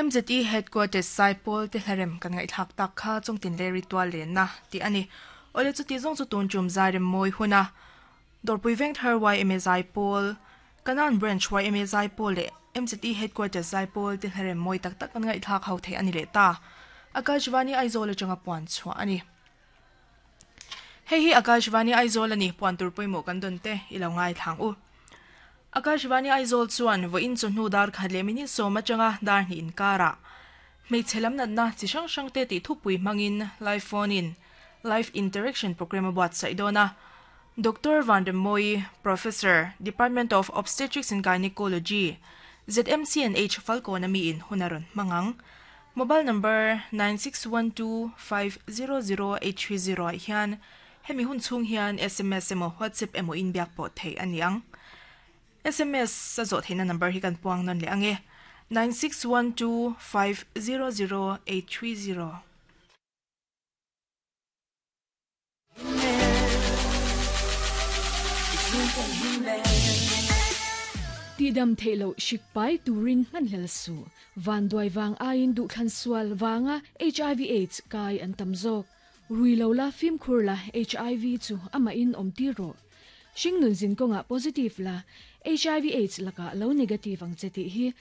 MZE Headquarters Saipawl te hlarem kan ngaihthlak tak kha chungtin leh ritual lenna tih a ni. Awle chuti zawng chu tun tum zairem mawi huna Dawrpui Vengthar yma Zaipawl, Kanan Branch yma Zaipawl leh MZE Headquarters Zaipawl te hlarem mawi tak tak kan ngaihthlak ho theih a ni leh ta. Akashvani Aizawl atanga puan chhuah a ni. Hei hi Akashvani Aizawl a ni, puan tur pawimawh kan dawn te i lo ngaithlang u. Akashvani Aizawl chuan vawiin chawhnu dar khat leh minute sawm atanga dar hnih inkarah hmeichhe lam natna chi hrang hrang te tih thupui hmangin live phone in live interaction program a buatsaih dawn a. Doctor Vanremmawi, Professor, Department of Obstetrics and Gynecology, ZMCNH Falkawn ami in hun a rawn hmang ang. Mobile number 9612500830 ah hian hemi hun chhung hian sms emaw WhatsApp emaw inbiak pawh theih a ni ang. Sms a zawh theihna number hi kan puang nawn leh ang e, 9612500830. Tihdam theih loh hrik pai turin hmanhlel suh. Vanduai vang aiin duhthlan sual vanga hiv aids kai an tam zawk. Rui lo la fimkhur la hiv chu amahin awm tir rawh. Hringnun zin kawngah positive la, hiv aids lakah lo negative ang che tih hi.